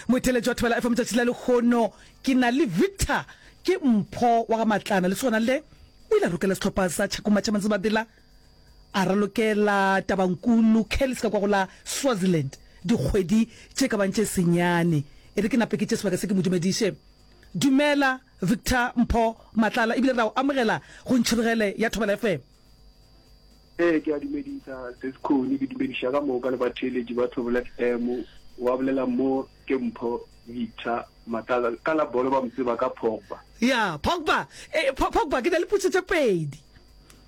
Motheeletši wa Thobela FM tšatši la lehono ke na le Victor ke Mpho wa ga Matlana lesogana le o ile a rokela sehlopha sa Tšhakuma tša Mantsebadela a ralokela Tabankulu Callies ka kwa go la Swaziland dikgwedi tše ka bang tše senyane. E re ke nape ke tše sebaka se ke mo dumediše. Dumela Victor Mpho Matlala ebile re a o amogela go Ntšhirogele ya Thobela FM. Ee, ke a dumedisa Sis Connie, ke dumediša ka moka le batheeletši ba Thobela FM. Wa bolela mo ke Mpho Victor Matlala, ka la bolo ba mo tseba ka Pogba. Ya, Pogba. E, Pogba, ke na le potšišo tše pedi.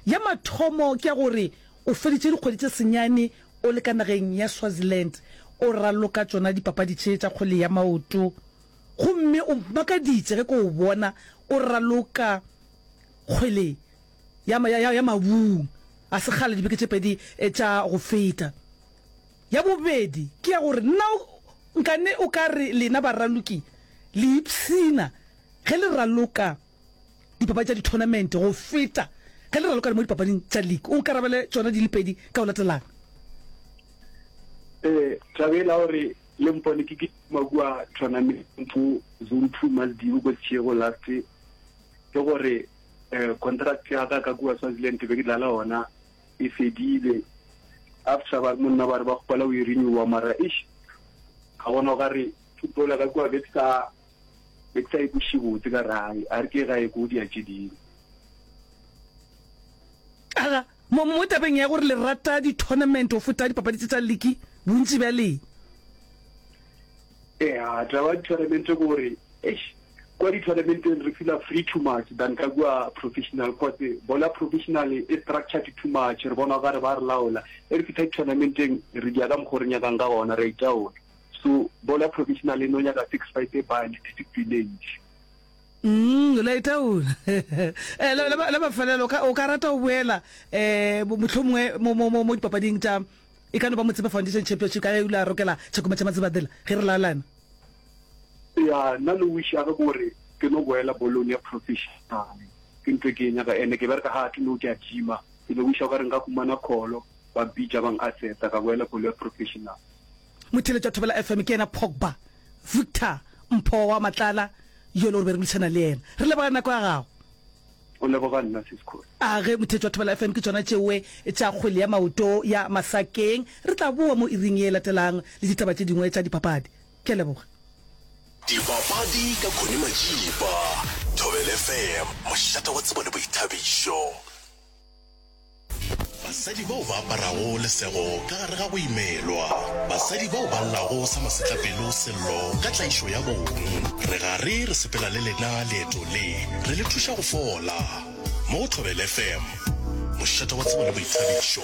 Ya mathomo ke ya gore o feditše dikgwedi tše senyane o le ka nageng ya Swaziland o raloka tšona dipapadi tše tša kgwele ya maoto, gomme o mmakaditše ge ke o bona o raloka kgwele ya, ya, ya, ya mabung a sekgale dibeke tše pedi tša go feta. Ya bobedi ke ya gore na nkane o ka re lena baraloki le ipshina ge le raloka dipapadi tša dithonamente go feta ge le raloka le mo dipapading tša league? O nkarabele tšona di le pedi ka go latelana. Ee, taba e la gore le mpone ke kitima kua tournament zone 2 Maldive ko Seshego last ke gore eh, contract ya ka ka kua Swaziland be ke dlala ona e fedile after ba monna ba re ba kgopela o e renewa mara ish ka bona o ka re football ya ka kua be ke sa be ke sa e kweše botse ka re hai a re ke gae ko dia tše dingwe. Aga, mo, mo tabeng ya gore le rata di-tournament go feta dipapadi tše tša liki, bontši bja lena. Ea, taba ya di-tournament ke gore, eish, kua di-tournamenteng re feela free too much than ka kua professional, cause bolo ya professional e structured too much, re bona okare ba re laola. E re fihla di-tournamenteng re dia ka mokgo re nyakang ka gona, re a itaola. So bolo ya professional e no nyaka sacrifice e bane, discipline e ntši. Mm, la itaola. Eh, la, la, la mafelelo, o ka, o ka rata go boela eh, mohlomongwe mo, mo, mo, mo dipapading tša e ka no ba Motsepe Foundation Championship ka ge o ile a rokela Tšhakuma tša Matsebadela ge re laelana. Ya, nna le wish ya ka ke gore ke no boela bolong ya professional. Ke ntho e ke e nyaka ene ke bereka hard no ke a gym-a. Ke no wisha okare nka humana call ba mpitša ba n-assessa ka boela bolo ya professional. Motheeletši wa Thobela FM ke yena Pogba Victor Mpho wa Matlala yo le gore be re boledišana le yena. Re leboga nako ya gago. O leboga nna sis Kholi. A ge motheetši wa Thobela FM ke tšona tšeoe tša kgwele ya maoto ya Masakeng. Re tla boa mo iring ye latelang le ditaba tše dingwe tša dipapadi. Ke a leboga. Dipapadi ka Connie Majiba, Thobela FM, mošate wa tsebo le boithabišo. Basadi bao ba aparago lesego ka gare ga go imelwa. Basadi bao ba llago sa masetlapelo sello ka tlaišo ya bong. Re gare re sepela le lena leeto le, re le thuša go fola. Mo go Thobela FM, mošate wa tsebo le boithabišo.